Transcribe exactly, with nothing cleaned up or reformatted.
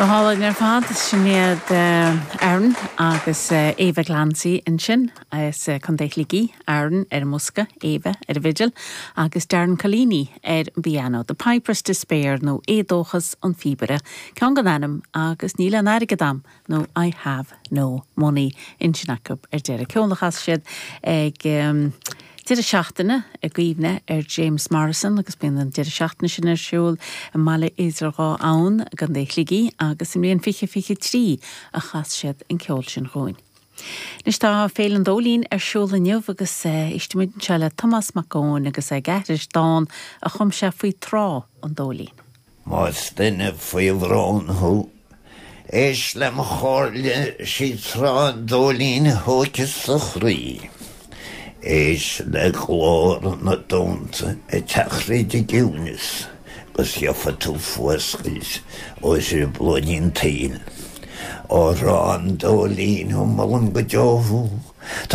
Go hálainn ar fad sin iad Aaron agus Eva Glancy ansin as Contae Shligigh Aaron ar an mbosca Eva ar an bhfidil agus Darren Collini ar an bpianó, The Piper's Despair nó Éadóchas an Phíobaire, Ceann gan ainm agus níl aon airgead agam nó I have no money ansin acu ar deireadh ceol a chas siad ag um, Deireadh seachtaine i gcuimhne ar James Morrison agus bíonn an deireadh seachtaine sin ar siúl i mBaile Idir Dhá Abhainn i gContae Shligigh agus i mbliain fiche fiche trí a chas siad an ceol sin dhúinn. Anois tá Féile an Dóilín ar siúl inniu agus éistfimid anseo le Tomás Mac Eoin agus ag aithris dán a chum sé faoi trá an Dóilín. Más duine faoi bhrón thú, Éist le mo chomhairle sí trá an Dóilín a thógfas do chroí. Éist le glór na dtonnta ag teacht tríd an gciúnas, agus gheofa tú fuascailt ó thrioblóidí an tsaoil. Ó thrá an Dóilín ó molaim go deo thú,